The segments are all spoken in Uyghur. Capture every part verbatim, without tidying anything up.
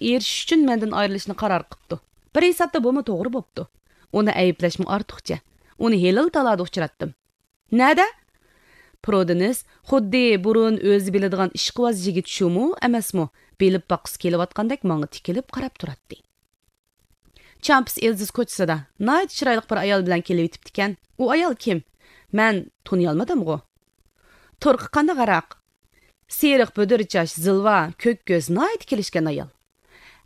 ئېرىشىش ئۈچۈن مەندىن ئايرىلىشنى قارار قىپتۇ. بىر ھېسابتا بۇمۇ توغرا بوپتۇ. ئۇنى ئەيىبلەشمۇ ئارتۇقچە. ئۇنى ھېلىلا تالادا ئۇچراتتىم. نەدە؟ پرودېنس خۇددى بۇرۇن ئۆزى بىلىدىغان ئىشقىۋاز يىگىت شۇمۇ ئەمەسمۇ، بىلىپ باققۇسى كېلىۋاتقاندەك ماڭا تىكىلىپ قاراپ تۇراتتى. چامپس ئېلزىز كوچىسىدا ناھايىتى چىرايلىق بىر ئايال بىلەن كېلىۋېتىپتىكەن. ئۇ ئايال كىم؟ مەن تونۇيالمىدىمغۇ؟ تۇرقى قانداق ھاراق؟ سېرىق بۈدۈر چاچ، زىلۋا، كۆك كۆز، ناھايىتى كېلىشكەن ئايال.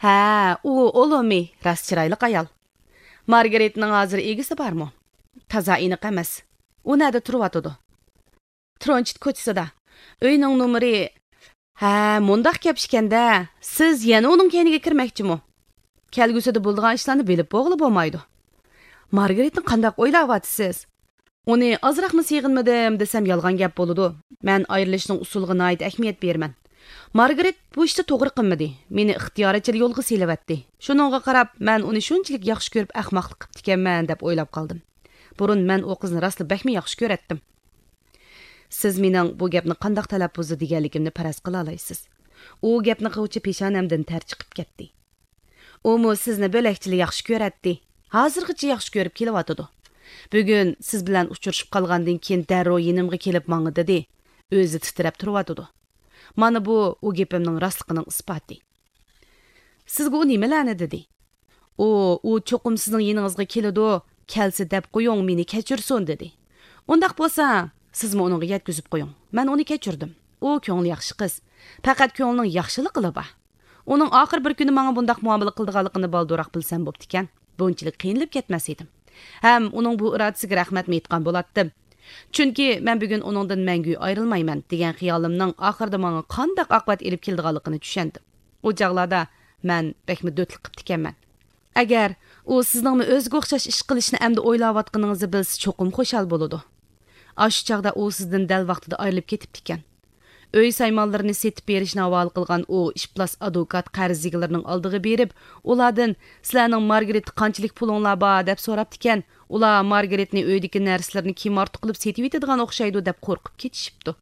ھە، ئۇ ئولومى، راست چىرايلىق ئايال. مارگارىتنىڭ ھازىر ئىگىسى بارمۇ؟ تازا ئېنىق ئەمەس. ئۇ نەدە تۇرۇۋاتىدۇ؟ ترونچىت كوچىسىدا. ئۆينىڭ نومۇرى. ھە، مۇنداق گەپ ئىكەندە، سىز يەنە ئۇنىڭ كەينىگە كىرمەكچىمۇ؟ كەلگۈسىدە بولىدىغان ئىشلارنى بىلىپ بولغىلى بولمايدۇ. مارگارىتنى قانداق ئويلاۋاتىسىز؟ ئۇنى ئازراقمۇ سېغىنمىدىم دېسەم يالغان گەپ بولىدۇ. مەن ئايرىلىشنىڭ ئۇسۇلىغا ناھايىتى ئەھمىيەت بېرىمەن. مارگارىت بۇ ئىشتا توغرا قىلمىدى. مېنى ئىختىيارىچىلا يولغا سېلىۋەتتى. شۇنىڭغا قاراپ، مەن ئۇنى شۇنچىلىك ياخشى كۆرۈپ ئەخمەقلىق قىپتىكەنمەن دەپ ئويلاپ قالدىم. بۇرۇن مەن ئۇ قىزنى راستلا بەكمۇ ياخشى كۆرەتتىم. سىز مېنىڭ بۇ گەپنى قانداق تەلەپپۇزدا دېگەنلىكىمنى پەرەز قىلالايسىز. ئۇ گەپنى قىلغۇچە پېشانەمدىن تەر چىقىپ كەتتى. ئۇمۇ سىزنى بۆلەكچىلا ياخشى كۆرەتتى. ھازىرغىچە ياخشى كۆرۈپ كېلىۋاتىدۇ. بۈگۈن سىز بىلەن ئۇچرىشىپ قالغاندىن كېيىن دەررۇ يېنىمغا كېلىپ ماڭىدۇ دېدى. ئۆزى تىترەپ تۇرۇۋاتىدۇ. مانا بۇ ئۇ گېپىمنىڭ راستلىقىنىڭ ئىسپاتى. سىزگە ئۇ نېمىلەرنى دېدى؟ ئۇ، ئۇ چوقۇم سىزنىڭ يېنىڭىزغا كېلىدۇ، كەلسە دەپ قويۇڭ، مېنى كەچۈرسۇن دېدى. ئۇنداق بولسا، سىزمۇ ئۇنىڭغا يەتكۈزۈپ قويۇڭ. مەن ئۇنى كەچۈردۈم. ئۇ كۆڭلى ياخشى قىز. پەقەت كۆڭلىنىڭ ياخشىلىقىلا بار. ئۇنىڭ ئاخىر بىر كۈنى ماڭا بۇنداق مۇئامىلە قىلىدىغانلىقىنى بالدۇرراق بىلسەم بوپتىكەن. بۇنچىلىك قىينىلىپ كەتمەس ئىدىم. ھەم ئۇنىڭ بۇ ئىرادىسىگە رەھمەتمۇ ئېيتقان بولاتتىم. چۈنكى مەن بۈگۈن ئۇنىڭدىن مەڭگۈ ئايرىلمايمەن دېگەن خىيالىمنىڭ ئاخىرىدا ماڭا قانداق ئاقىۋەت ئېلىپ كېلىدىغانلىقىنى چۈشەندىم. ئۇ چاغلاردا مەن بەكمۇ دۆتلۈك قىپتىكەنمەن. ئەگەر ئۇ سىزنىڭمۇ ئۆزىگە ئوخشاش ئىش قىلىشنى ئەمدى ئويلاۋاتقىنىڭىزنى بىلسە، چوقۇم خۇشال بولىدۇ. ئاشۇ چاغدا ئۇ سىزدىن دەل ۋاقتىدا ئايرىلىپ كېتىپتىكەن. ئۆي سايمانلىرىنى سېتىپ بېرىشنى ھاۋالە قىلغان ئۇ ئىپلاس ئادۋوكات قەرز ئىگىلىرىنىڭ ئالدىغا بېرىپ، ئۇلاردىن، «سىلەرنىڭ مارگرېتتا قانچىلىك پۇلۇڭلار بار؟» دەپ سوراپتىكەن. ئۇلار مارگرېتنى ئۆيدىكى نەرسىلىرىنى كىم ئارتۇق قىلىپ سېتىۋېتىدىغان ئوخشايدۇ دەپ قورقۇپ كېتىشىپتۇ.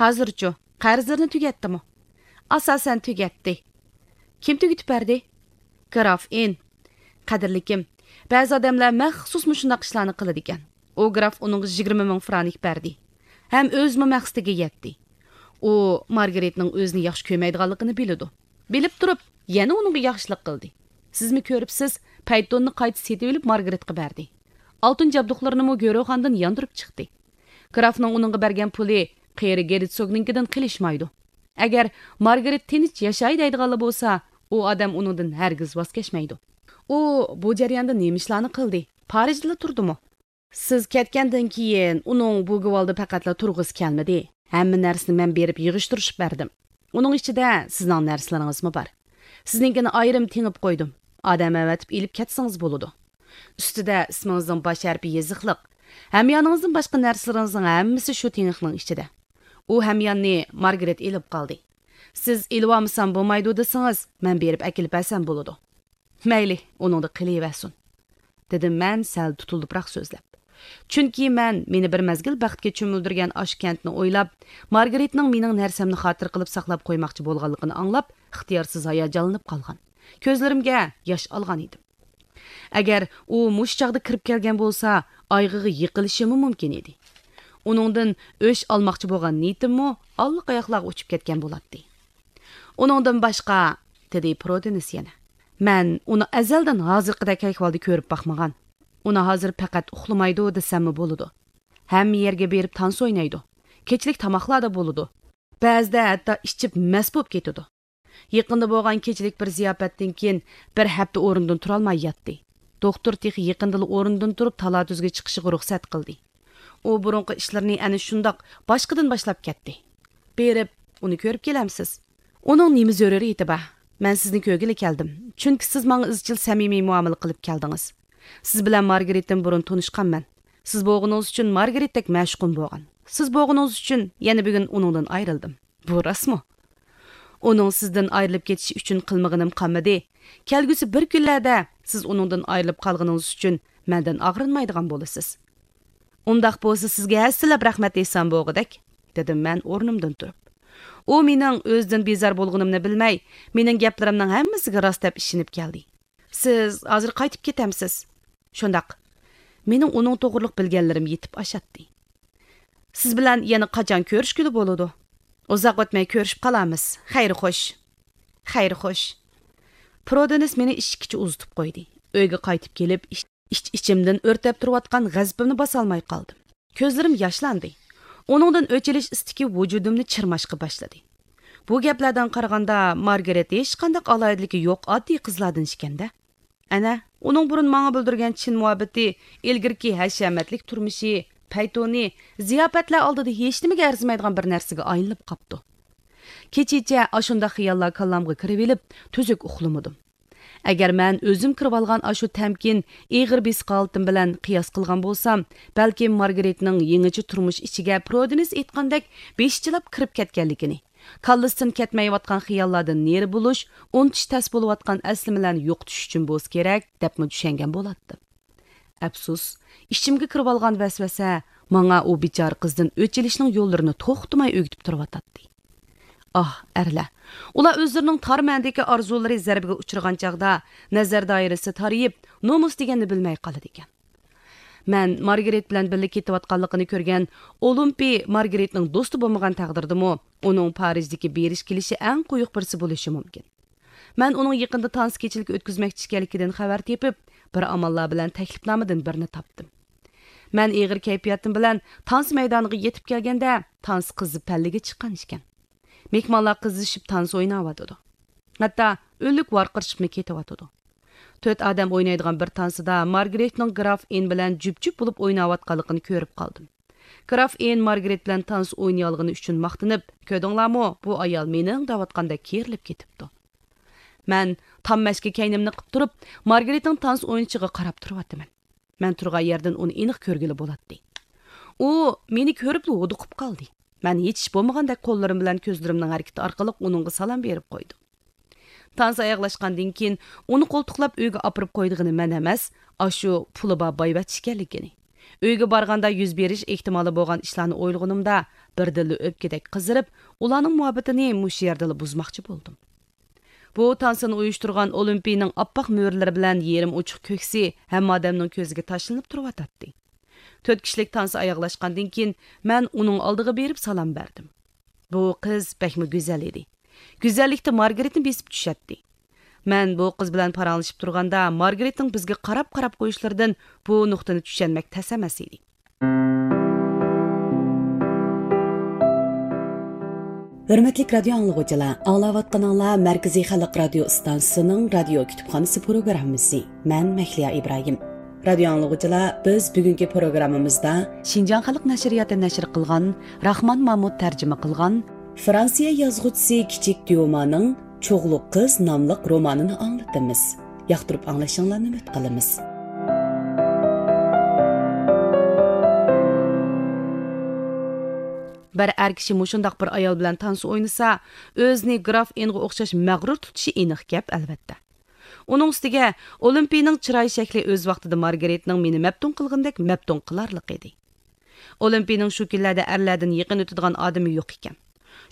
ھازىرچۇ، قەرزلىرىنى تۈگەتتىمۇ؟ ئاساسەن تۈگەتتى. كىم تۈگىتىپ بەردى؟ گراف ئېن. قەدىرلىكىم، بەزى ئادەملەر مەخسۇس مۇشۇنداق ئىشلارنى قىلىدىكەن. ئۇ گراف ئۇنىڭغا يىگىرمە مىڭ فرانك بەردى. ھەم ئۆزىمۇ مەقسىتىگە يەتتى. ئۇ مارگرېتنىڭ ئۆزىنى ياخشى كۆرمەيدىغانلىقىنى بىلىدۇ. بىلىپ تۇرۇپ، يەنە ئۇنىڭغا ياخشىلىق قىلدى. سىزمۇ كۆرۈپسىز، پەيتوننى قايتا سېتىۋېلىپ مارگرېتقا بەردى. ئالتۇن جابدۇقلىرىنىمۇ گۆروخاندىن ياندۇرۇپ چىقتى. گرافنىڭ ئۇنىڭغا بەرگەن پۇلى قېرى گېرتسوگنىڭكىدىن قېلىشمايدۇ. ئەگەر مارگرېت تىنچ ياشاي دەيدىغانلا بولسا، ئۇ ئادەم ئۇنىڭدىن ھەرگىز ۋاز كەچمەيدۇ. ئۇ بۇ جەرياندا نېمە ئىشلارنى قىلدى؟ پارىژدىلا تۇردىمۇ؟ سىز كەتكەندىن كېيىن ئۇنىڭ بۇ گۋالدا پەقەتلا تۇرغۇسى كەلمىدى. ھەممە نەرسىنى مەن بېرىپ يىغىشتۇرۇشۇپ بەردىم. ئۇنىڭ ئىچىدە سىزنىڭ نەرسىلىرىڭىزمۇ بار. سىزنىڭكىنى ئايرىم تېڭىپ قويدۇم. ئادەم ئەۋەتىپ ئېلىپ كەتسىڭىز بولىدۇ. ئۈستىدە ئىسمىڭىزنىڭ باش ھەرپى يېزىقلىق. ھەميانىڭىزدىن باشقا نەرسىلىرىڭىزنىڭ ھەممىسى شۇ تېڭىقنىڭ ئىچىدە. ئۇ ھەمياننى مارگرېت ئېلىپ قالدى. سىز ئېلىۋالمىسام بولمايدۇ دېسىڭىز، مەن بېرىپ ئەكېلىپ بەرسەم بولىدۇ. مەيلى، ئۇنىڭدا قېلىۋەرسۇن، دېدىم مەن سەل تۇتۇلدۇپراق سۆزلەپ. چۈنكى مەن مېنى بىر مەزگىل بەختكە چۆمۈلدۈرگەن ئاشۇ كەنتنى ئويلاپ، مارگرېتنىڭ مېنىڭ نەرسەمنى خاتىرە قىلىپ ساقلاپ قويماقچى بولغانلىقىنى ئاڭلاپ، ئىختىيارسىز ھاياجانلىنىپ قالغان. كۆزلىرىمگە ياش ئالغان ئىدىم. ئەگەر ئۇ مۇشۇ چاغدا كىرىپ كەلگەن بولسا، ئايىغىغا يىقىلىشىمۇ مۇمكىن ئىدى. ئۇنىڭدىن ئۆچ ئالماقچى بولغان نىيىتىممۇ ئاللىقاياقلارغا ئۇچۇپ كەتكەن بولاتتى. ئۇنىڭدىن باشقا، دېدى پرودېنس يەنە. مەن ئۇنى ئەزەلدىن ھازىرقىدەك ئەھۋالدا كۆرۈپ باقمىغان. ئۇنى ھازىر پەقەت ئۇخلىمايدۇ دېسەممۇ بولىدۇ. ھەممە يەرگە بېرىپ تانسا ئوينايدۇ. كېچىلىك تاماقلاردا بولىدۇ. بەزىدە ھەتتا ئىچىپ مەست بولۇپ كېتىدۇ. يېقىندا بولغان كېچىلىك بىر زىياپەتتىن كېيىن بىر ەپتە ئورنىدىن تۇرالماي ياتتى. دوختۇر تېخى يېقىندىلا ئورنىدىن تۇرۇپ تالا-تۈزگە چىقىشىغا رۇخسەت قىلدى. ئۇ بۇرۇنقى ئىشلىرىنى ئەنە شۇنداق باشقىدىن باشلاپ كەتتى. بېرىپ، ئۇنى كۆرۈپ كېلەمسىز؟ ئۇنىڭ نېمە زۆرۈرىيىتى بار؟ مەن سىزنى كۆرگىلى كەلدىم. چۈنكى سىز ماڭا ئىزچىل سەمىمىي مۇئامىلە قىلىپ كەلدىڭىز. سىز بىلەن مارگرېتتىن بۇرۇن تونۇشقانمەن. سىز بولغىنىڭىز ئۈچۈن مارگرېتتەك مەشۇقۇم بولغان. سىز بولغىنىڭىز ئۈچۈن يەنە بۈگۈن ئۇنىڭدىن ئايرىلدىم. بۇ راستمۇ؟ ئۇنىڭ سىزدىن ئايرىلىپ كېتىشى ئۈچۈن قىلمىغىنىم قالمىدى. كەلگۈسى بىر كۈنلەردە سىز ئۇنىڭدىن ئايرىلىپ قالغىنىڭىز ئۈچۈن مەندىن ئاغرىنمايدىغان بولىسىز. ئۇنداق بولسا سىزگە ھەسسىلەپ رەھمەت ئېيتسام بولغۇدەك، دېدىم مەن ئورنۇمدىن تۇرۇپ. ئۇ مېنىڭ ئۆزىدىن بىزار بولغىنىمنى بىلمەي، مېنىڭ گەپلىرىمنىڭ ھەممىسىگە راست دەپ ئىشىنىپ كەلدى. سىز ھازىر قايتىپ كېتەمسىز؟ شۇنداق. مېنىڭ ئۇنىڭ توغرىلىق بىلگەنلىرىم يېتىپ ئاشاتتى. سىز بىلەن يەنە قاچان كۆرۈشكىلى بولىدۇ؟ ئۇزاق ئۆتمەي كۆرۈشۈپ قالارمىز. خەير خوش. خەير خوش. پرودېنس مېنى ئىشىككىچە ئۇزىتىپ قويدى. ئۆيگە قايتىپ كېلىپ، ئىچ-، ئىچ-ئىچىمدىن ئۆرتەپ تۇرۇۋاتقان غەزىپىمنى باسالماي قالدىم. كۆزلىرىم ياشلاندى. ئۇنىڭدىن ئۆچ ئېلىش ئىستىكى ۋۇجۇدۇمنى چىرماشقا باشلىدى. بۇ گەپلەردىن قارىغاندا، مارگارېت ھېچقانداق ئالاھىدىلىكى يوق ئاددىي قىزلاردىن ئىكەن-دە. ئەنە، ئۇنىڭ بۇرۇن ماڭا بىلدۈرگەن چىن مۇھەببىتى، ئىلگىرىكى ھەشەمەتلىك تۇرمۇشى، پەيتۇنى، زىياپەتلەر ئالدىدا ھېچنېمىگە ئەرزىمەيدىغان بىر نەرسىگە ئايلىنىپ قاپتۇ. كېچىچە ئاشۇنداق خىياللار كاللامغا كىرىۋېلىپ، تۈزۈك ئۇخلىمىدىم. ئەگەر مەن ئۆزۈم كىرىۋالغان ئاشۇ تەمكىن، ئېغىر بېسىق ھالىتىم بىلەن قىياس قىلغان بولسام، بەلكىم مارگرېتنىڭ يېڭىچە تۇرمۇش ئىچىگە پرودېنس ئېيتقاندەك بېشىچىلاپ كىرىپ كەتكەنلىكىنى، كاللىسىدىن كەتمەيۋاتقان خىياللاردىن نېرى بولۇش، ئۇنتۇش تەس بولۇۋاتقان ئەسلىمىلەرنى يوقىتىش ئۈچۈن بولسا كېرەك، دەپمۇ چۈشەنگەن بولاتتىم. ئەپسۇس، ئىچىمگە كىرىۋالغان ۋەسۋەسە ماڭا ئۇ بىچارە قىزدىن ئۆچ ئېلىشنىڭ يوللىرىنى توختىماي ئۆگىتىپ تۇرۇۋاتاتتى. ئاھ، ئەرلەر! ئۇلار ئۆزلىرىنىڭ تار مەنىدىكى ئارزۇلىرى زەربىگە ئۇچرىغان چاغدا، نەزەر دائىرىسى تارىيىپ، نومۇس دېگەننى بىلمەي قالىدىكەن. مەن مارگرېت بىلەن بىللە كېتىۋاتقانلىقىنى كۆرگەن ئولىمپىي مارگرېتنىڭ دوستى بولمىغان تەقدىردىمۇ، ئۇنىڭ پارىژدىكى بېرىش كېلىشى ئەڭ قويۇق بىرسى بولۇشى مۇمكىن. مەن ئۇنىڭ يېقىندا تانسا كېچىلىك ئۆتكۈزمەكچى ئىكەنلىكىدىن خەۋەر تېپىپ، بىر ئاماللار بىلەن تەكلىپنامىدىن بىرنى تاپتىم. مەن ئېغىر كەيپىياتىم بىلەن تانسا مەيدانىغا يېتىپ كەلگەندە، تانسا قىزىپ پەللىگە چىققان ئىكەن. مېھمانلار قىزىشىپ تانسا ئويناۋاتىدۇ. ھەتتا ئۆلۈك ۋارقىرىشىپمۇ كېتىۋاتىدۇ. تۆت ئادەم ئوينايدىغان بىر تانسىدا مارگرېتنىڭ گراف ئېن بىلەن جۈپ-جۈپ بولۇپ ئويناۋاتقانلىقىنى كۆرۈپ قالدىم. گراف ئېن مارگرېت بىلەن تانسا ئوينىيالىغىنى ئۈچۈن ماختىنىپ، «كۆردۈڭلارمۇ، بۇ ئايال مېنىڭ» دەۋاتقاندەك كېرىلىپ كېتىپتۇ. مەن تام مەشكە كەينىمنى قىپ تۇرۇپ، مارگرېتنىڭ تانسا ئوينىشىغا قاراپ تۇرۇۋاتىمەن. مەن تۇرغان يەردىن ئۇنى ئېنىق كۆرگىلى بولاتتى. ئۇ مېنى كۆرۈپلا ھودۇقۇپ قالدى. مەن ھېچ ئىش بولمىغاندەك قوللىرىم بىلەن كۆزلىرىمنىڭ ھەرىكىتى ئارقىلىق ئۇنىڭغا سالام بېرىپ قويدۇم. تانسا ئاياغلاشقاندىن كېيىن ئۇنى قولتۇقلاپ ئۆيگە ئاپىرىپ قويىدىغىنى مەن ئەمەس، ئاشۇ پۇلى بار بايۋەچچە ئىكەنلىكىنى. ئۆيگە بارغاندا يۈز بېرىش ئېھتىمالى بولغان ئىشلارنى ئويلىغىنىمدا، بىردىنلا ئۆپكىدەك قىزىرىپ، ئۇلارنىڭ مۇھەببىتىنى مۇشۇ يەردىلا بۇزماقچى بولدۇم. بۇ تانسىنى ئۇيۇشتۇرغان ئولىمپىينىڭ ئاپئاق مۈرىلىرى بىلەن يېرىم ئوچۇق كۆكسى ھەممە ئادەمنىڭ كۆزىگە تاشلىنىپ تۇرۇۋاتاتتى. تۆت كىشىلىك تانسا ئاياغلاشقاندىن كېيىن، مەن ئۇنىڭ ئالدىغا بېرىپ سالام بەردىم. بۇ قىز بەكمۇ گۈزەل ئىدى. گۈزەللىكتە مارگرېتنى بېسىپ چۈشەتتى. مەن بۇ قىز بىلەن پاراڭلىشىپ تۇرغاندا، مارگرېتنىڭ بىزگە قاراپ-قاراپ قويۇشلىرىدىن بۇ نۇقتىنى چۈشەنمەك تەس ئەمەس ئىدى. ھۆرمەتلىك رادىيو ئاڭلىغۇچىلار، ئاڭلاۋاتقىنىڭلار مەركىزىي خەلق رادىيو ئىستانسىسىنىڭ رادىيو كۇتۇپخانىسى پروگراممىسى. مەن مەھلىيا ئىبراھىم. رادىيو ئاڭلىغۇچىلار، بىز بۈگۈنكى پروگراممىمىزدا شىنجاڭ خەلق نەشرىياتى نەشر قىلغان، راخمان مامۇت تەرجىمە قىلغان، فرانسىيە يازغۇچىسى كىچىك ديومانىڭ چوغلۇق قىز ناملىق رومانىنى ئاڭلىتىمىز. ياقتۇرۇپ ئاڭلىشىڭلارنى ئۈمىد قىلىمىز. بىر ئەر كىشى مۇشۇنداق بىر ئايال بىلەن تانسا ئوينىسا، ئۆزىنى گراف ئېنغا ئوخشاش مەغرۇر تۇتۇشى ئېنىق گەپ، ئەلۋەتتە. ئۇنىڭ ئۈستىگە، ئولىمپىينىڭ چىراي شەكلى ئۆز ۋاقتىدا مارگرېتنىڭ مېنى مەپتۇن قىلغىنىدەك مەپتۇن قىلارلىق ئىدى. ئولىمپىينىڭ شۇ كۈنلەردە ئەرلەردىن يېقىن ئۆتىدىغان ئادىمى يوق ئىكەن.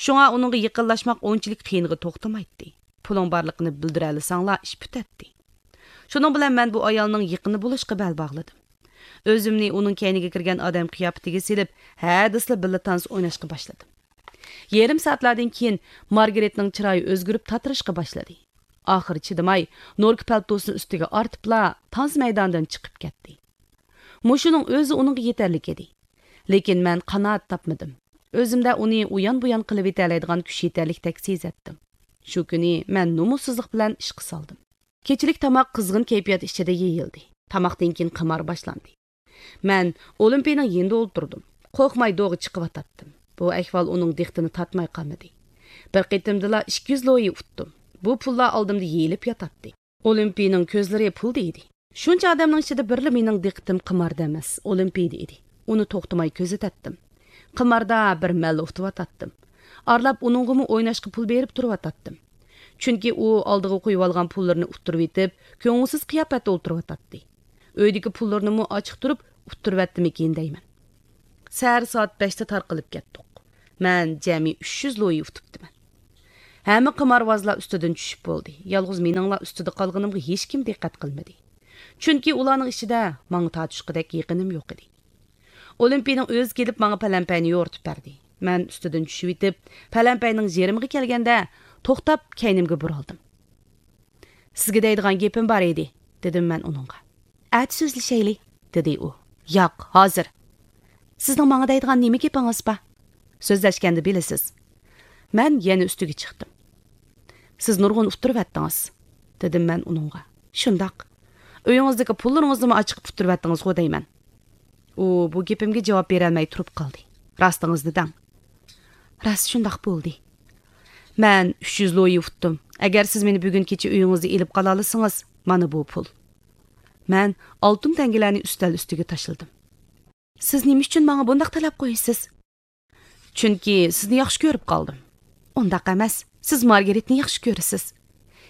شۇڭا ئۇنىڭغا يېقىنلاشماق ئۇنچىلىك قىيىنغا توختىمايتتى. پۇلۇڭ بارلىقىنى بىلدۈرەلىسەڭلار، ئىش پۈتەتتى. شۇنىڭ بىلەن مەن بۇ ئايالنىڭ يېقىنى بولۇشقا بەل باغلىدىم. ئۆزۈمنى ئۇنىڭ كەينىگە كىرگەن ئادەم قىياپىتىگە سېلىپ، ھە دېسىلا بىللە تانسا ئويناشقا باشلىدىم. يېرىم سائەتلەردىن كېيىن مارگرېتنىڭ چىرايى ئۆزگىرىپ تاتىرىشقا باشلىدى. ئاخىرى چىدىماي، نوركا پەلتوسىنى ئۈستىگە ئارتىپلا، تانسا مەيدانىدىن چىقىپ كەتتى. مۇشۇنىڭ ئۆزى ئۇنىڭغا يېتەرلىك ئىدى. لېكىن مەن قانائەت تاپمىدىم. ئۆزۈمدە ئۇنى ئۇيان-بۇيان قىلىۋېتەلەيدىغان كۈچ يېتەرلىكتەك سېزەتتىم. شۇ كۈنى مەن نومۇسسىزلىق بىلەن ئىشقا سالدىم. كېچىلىك تاماق قىزغىن كەيپىيات ئىچىدە يېيىلدى. تاماقتىن كېيىن قىمار باشلاندى. مەن ئولىمپىينىڭ يېنىدا ئولتۇردۇم. قورقماي دوغا چىقىۋاتاتتىم. بۇ ئەھۋال ئۇنىڭ دىققىتىنى تارتماي قالمىدى. بىر قېتىمدىلا ئىككى يۈز لويى ئۇتتۇم. بۇ پۇللار ئالدىمدا يېيىلىپ ياتاتتى. ئولىمپىينىڭ كۆزلىرى پۇلدا ئىدى. شۇنچە ئادەمنىڭ ئىچىدە بىرلا مېنىڭ دىققىتىم قىماردا ئەمەس، ئولىمپىيدا ئىدى. ئۇنى توختىماي كۆزىتەتتىم. قىماردا بىر مەللە ئۇتۇۋاتاتتىم. ئارىلاپ ئۇنىڭغىمۇ ئويناشقا پۇل بېرىپ تۇرۇۋاتاتتىم. چۈنكى ئۇ ئالدىغا قويۇۋالغان پۇللىرىنى ئۇتتۇرۇۋېتىپ، كۆڭۈلسىز قىياپەتتە ئولتۇرۇۋاتاتتى. ئۆيدىكى پۇللىرىنىمۇ ئاچىقتۇرۇپ ئۇتتۇرۇۋەتتىمىكىن دەيمەن. سەھەر سائەت بەشتە تارقىلىپ كەتتۇق. مەن جەمئىي ئۈچ يۈز لويى ئۇتۇپتىمەن. ھەممە قىمارۋازلار ئۈستىدىن چۈشۈپ بولدى. يالغۇز مېنىڭلا ئۈستىدە قالغىنىمغا ھېچكىم دىققەت قىلمىدى. چۈنكى ئۇلارنىڭ ئىچىدە ماڭا تارتىشقۇدەك يېقىنىم يوق ئىدى. ئولىمپىنىڭ ئۆزى كېلىپ ماڭا پەلەمپەينى يورۇتۇپ بەردى. مەن ئۈستىدىن چۈشۈۋېتىپ، پەلەمپەينىڭ يېرىمىغا كەلگەندە، توختاپ، كەينىمگە بۇرۇلدۇم. سىزگە دەيدىغان گېپىم بار ئىدى، دېدىم مەن ئۇنىڭغا. ئەتە سۆزلىشەيلى، دېدى ئۇ. ياق، ھازىر. سىزنىڭ ماڭا دەيدىغان نېمە گېپىڭىز بار؟ سۆزلەشكەندە بىلىسىز. مەن يەنە ئۈستىگە چىقتىم. سىز نۇرغۇن ئۇتتۇرۇۋەتتىڭىز، دېدىم مەن ئۇنىڭغا. شۇنداق. ئۆيىڭىزدىكى پۇللىرىڭىزنىمۇ ئاچىقىپ ئۇتتۇرۇۋەتتىڭىزغۇ دەيمەن. ئۇ بۇ گېپىمگە جاۋاب بېرەلمەي تۇرۇپ قالدى. راستىڭىزنى دەڭ. راست شۇنداق بولدى. مەن ئۈچ يۈز لويى ئۇتتۇم. ئەگەر سىز مېنى بۈگۈن كېچە ئۆيىڭىزدە ئېلىپ قالالىسىڭىز، مانا بۇ پۇل. مەن ئالتۇن تەڭگىلەرنى ئۈستەل ئۈستىگە تاشلىدىم. سىز نېمە ئۈچۈن ماڭا بۇنداق تەلەپ قويىسىز؟ چۈنكى سىزنى ياخشى كۆرۈپ قالدىم. ئۇنداق ئەمەس، سىز مارگىرىتنى ياخشى كۆرىسىز.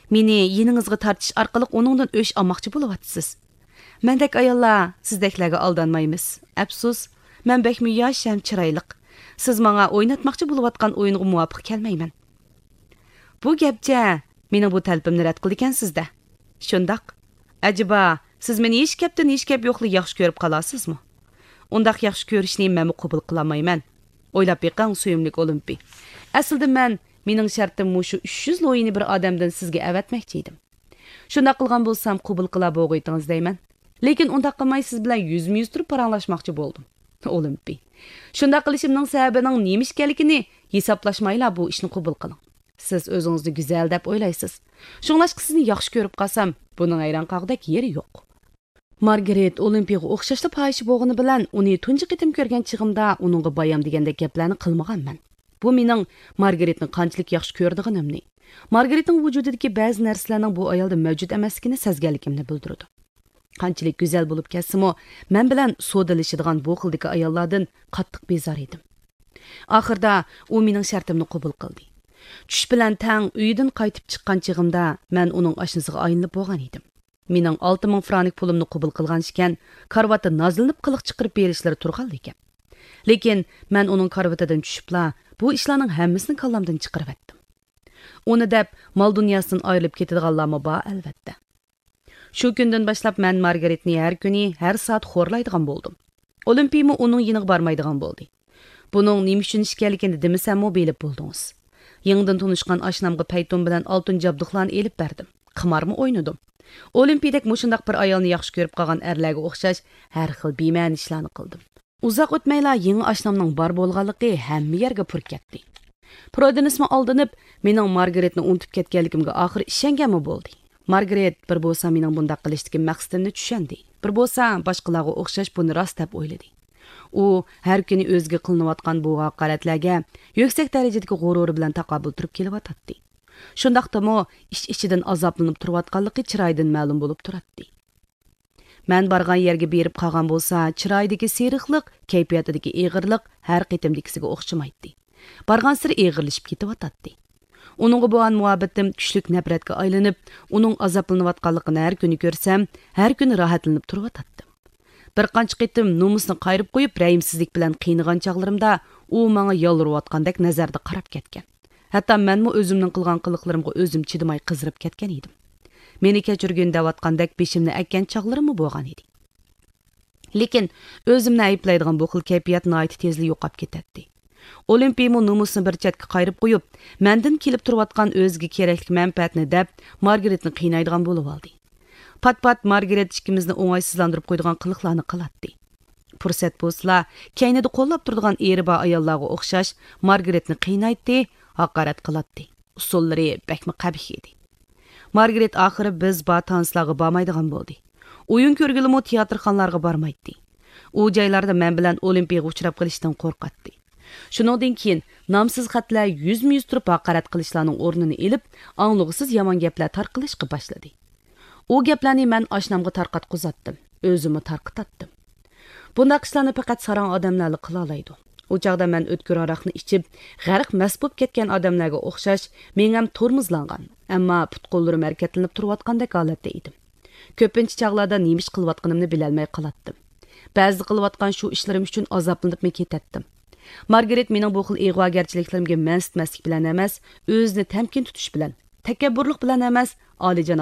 مېنى يېنىڭىزغا تارتىش ئارقىلىق ئۇنىڭدىن ئۆچ ئالماقچى بولۇۋاتىسىز. مەندەك ئاياللار سىزدەكلەرگە ئالدانمايمىز. ئەپسۇس، مەن بەكمۇ ياش ھەم چىرايلىق. سىز ماڭا ئويناتماقچى بولۇۋاتقان ئويۇنغا مۇۋاپىق كەلمەيمەن. بۇ گەپچە مېنىڭ بۇ تەلىپىمنى رەت قىلىدىكەنسىز-دە. شۇنداق. ئەجەبا، سىز مېنى ھېچ گەپتىن ھېچ گەپ يوقلا ياخشى كۆرۈپ قالارسىزمۇ؟ ئۇنداق ياخشى كۆرۈشنى مەنمۇ قوبۇل قىلالمايمەن. ئويلاپ بېقىڭ، سۆيۈملۈك ئولىمپىي. ئەسلىدە مەن، مېنىڭ شەرتىم مۇشۇ ئۈچ يۈز لويىنى بىر ئادەمدىن سىزگە ئەۋەتمەكچى ئىدىم. شۇنداق قىلغان بولسام، قوبۇل قىلار بوغۇيتىڭىز دەيمەن. لېكىن ئۇنداق قىلماي، سىز بىلەن يۈزمۇ يۈز تۇرۇپ پاراڭلاشماقچى بولدۇم. ئولىمپىي. شۇنداق قىلىشىمنىڭ سەۋەبىنىڭ نېمە ئىكەنلىكىنى ھېسابلاشمايلا بۇ ئىشنى قوبۇل قىلىڭ. سىز ئۆزىڭىزنى گۈزەل دەپ ئويلايسىز. شۇڭلاشقا سىزنى ياخشى كۆرۈپ قالسام، بۇنىڭ ھەيران قالغۇدەك يېرى يوق. مارگرېت ئولىمپىيغا ئوخشاشلا پاھىشە بولغىنى بىلەن، ئۇنى تۇنجى قېتىم كۆرگەن چېغىمدا ئۇنىڭغا بايام دېگەندەك گەپلەرنى قىلمىغانمەن. بۇ مېنىڭ مارگرېتنى قانچىلىك ياخشى كۆرىدىغىنىمنى، مارگرېتنىڭ ۋۇجۇدىدىكى بەزى نەرسىلەرنىڭ بۇ ئايالدا مەۋجۇت ئەمەسلىكىنى سەزگەنلىكىمنى بىلدۈرىدۇ. قانچىلىك گۈزەل بولۇپ كەتسىمۇ، مەن بىلەن سودىلىشىدىغان بۇ خىلدىكى ئاياللاردىن قاتتىق بىزار ئىدىم. ئاخىردا ئۇ مېنىڭ شەرتىمنى قوبۇل قىلدى. چۈش بىلەن تەڭ ئۆيىدىن قايتىپ چىققان چېغىمدا، مەن ئۇنىڭ ئاشنىسىغا ئايلىنىپ بولغان ئىدىم. مېنىڭ ئالتە مىڭ فرانك پۇلۇمنى قوبۇل قىلغان ئىكەن، كارىۋاتتا نازلىنىپ قىلىق چىقىرىپ بېرىشلىرى تۇرغانلا گەپ. لېكىن مەن ئۇنىڭ كارىۋىتىدىن چۈشۈپلا، بۇ ئىشلارنىڭ ھەممىسىنى كاللامدىن چىقىرىۋەتتىم. ئۇنى دەپ، مال دۇنياسىدىن ئايرىلىپ كېتىدىغانلارمۇ بار، ئەلۋەتتە. شۇ كۈندىن باشلاپ مەن مارگرېتنى ھەر كۈنى، ھەر سائەت خورلايدىغان بولدۇم. ئولىمپىيمۇ ئۇنىڭ يېنىغا بارمايدىغان بولدى. بۇنىڭ نېمە ئۈچۈن ئىكەنلىكىنى دېمىسەممۇ بىلىپ بولدىڭىز. يېڭىدىن تونۇشقان ئاشنامغا پەيتۇن بىلەن ئالتۇن جابدۇقلارنى ئېلىپ بەردىم. قىمارمۇ ئوينىدىم. ئولىمپىيدەك مۇشۇنداق بىر ئايالنى ياخشى كۆرۈپ قالغان ئەرلەرگە ئوخشاش ھەر خىل بىمەنە ئىشلارنى قىلدىم. ئۇزاق ئۆتمەيلا يېڭى ئاشنامنىڭ بار بولغانلىقى ھەممە يەرگە پۇر كەتتى. پرودېنسمۇ ئالدىنىپ، مېنىڭ مارگرېتنى ئۇنتۇپ كەتكەنلىكىمگە ئاخىر ئىشەنگەنمۇ بولدى. مارگرېت بىر بولسا مېنىڭ بۇنداق قىلىشتىكى مەقسىتىمنى چۈشەندى، بىر بولسا باشقىلارغا ئوخشاش بۇنى راست دەپ ئويلىدى. ئۇ ھەر كۈنى ئۆزىگە قىلىنىۋاتقان بۇ ھاقارەتلەرگە يۈكسەك دەرىجىدىكى غۇرۇرى بىلەن تاقابىل تۇرۇپ كېلىۋاتاتتى. شۇنداقتىمۇ ئىچ-ئىچىدىن ئازابلىنىپ تۇرۇۋاتقانلىقى چىرايىدىن مەلۇم بولۇپ تۇراتتى. مەن بارغان يەرگە بېرىپ قالغان بولسا، چىرايىدىكى سېرىقلىق، كەيپىياتىدىكى ئېغىرلىق ھەر قېتىمدىكىسىگە ئوخشىمايتتى. بارغانسېرى ئېغىرلىشىپ كېتىۋاتاتتى. ئۇنىڭغا بولغان مۇھەببىتىم كۈچلۈك نەپرەتكە ئايلىنىپ، ئۇنىڭ ئازابلىنىۋاتقانلىقىنى ھەر كۈنى كۆرسەم، ھەر كۈنى راھەتلىنىپ تۇرۇۋاتاتتىم. بىر قانچە قېتىم نومۇسنى قايرىپ قويۇپ، رەھىمسىزلىك بىلەن قىينىغان چاغلىرىمدا، ئۇ ماڭا يالۋۇرۇۋاتقاندەك نەزەردە قاراپ كەتكەن. ھەتتا مەنمۇ ئۆزۈمنىڭ قىلغان قىلىقلىرىمغا ئۆزۈم چىدىماي قىزىرىپ كەتكەن ئىدىم. مېنى كەچۈرگىن دەۋاتقاندەك بېشىمنى ئەگكەن چاغلىرىممۇ بولغان ئىدى. لېكىن ئۆزۈمنى ئەيىبلەيدىغان بۇ خىل كەيپىيات ناھايىتى تېزلا يوقاپ كېتەتتى. ئولىمپىيمۇ نومۇسنى بىر چەتكە قايرىپ قويۇپ، مەندىن كېلىپ تۇرۇۋاتقان ئۆزىگە كېرەكلىك مەنپەئەتنى دەپ، مارگرېتنى قىينايدىغان بولۇۋالدى. پات-پات مارگرېت ئىككىمىزنى ئوڭايسىزلاندۇرۇپ قويىدىغان قىلىقلارنى قىلاتتى. پۇرسەت بولسىلا، كەينىدە قوللاپ تۇرىدىغان ئېرى بار ئاياللارغا ئوخشاش مارگرېتنى قىينايتتى، ھاقارەت قىلاتتى. ئۇسۇللىرى بەكمۇ قەبىھ ئىدى. مارگرېت ئاخىرى بىز بار تانسلارغا بارمايدىغان بولدى. ئويۇن كۆرگىلىمۇ تىياتىرخانىلارغا بارمايتتى. ئۇ جايلاردا مەن بىلەن ئولىمپىيغا ئۇچراپ قېلىشتىن قورقاتتى. شۇنىڭدىن كېيىن نامسىز خەتلەر يۈزمۇ يۈز تۇرۇپ ھاقارەت قىلىشلارنىڭ ئورنىنى ئېلىپ، ئاڭلىغۇسىز يامان گەپلەر تارقىلىشقا باشلىدى. ئۇ گەپلەرنى مەن ئاشنامغا تارقاتقۇزاتتىم، ئۆزۈممۇ تارقىتاتتىم. بۇنداق ئىشلارنى پەقەت ساراڭ ئادەملەرلا قىلالايدۇ. ئۇ چاغدا مەن ئۆتكۈر ھاراقنى ئىچىپ، غەرق مەست بولۇپ كەتكەن ئادەملەرگە ئوخشاش، مېڭەم تورمۇزلانغان، ئەمما پۇت-قوللىرىم ھەرىكەتلىنىپ تۇرۇۋاتقاندەك ھالەتتە ئىدىم. كۆپىنچە چاغلاردا نېمە ئىش قىلىۋاتقىنىمنى بىلەلمەي قالاتتىم. بەزىدە قىلىۋاتقان شۇ ئىشلىرىم ئۈچۈن ئازابلىنىپمۇ كېتەتتىم. مارگرېت مېنىڭ بۇ خىل ئىغۋاگەرچىلىكلىرىمگە مەنسىتمەسلىك بىلەن ئەمەس، ئۆزىنى تەمكىن تۇتۇش بىلەن، تەكەببۇرلۇق بىلەن ئەمەس، ئالىيجاناب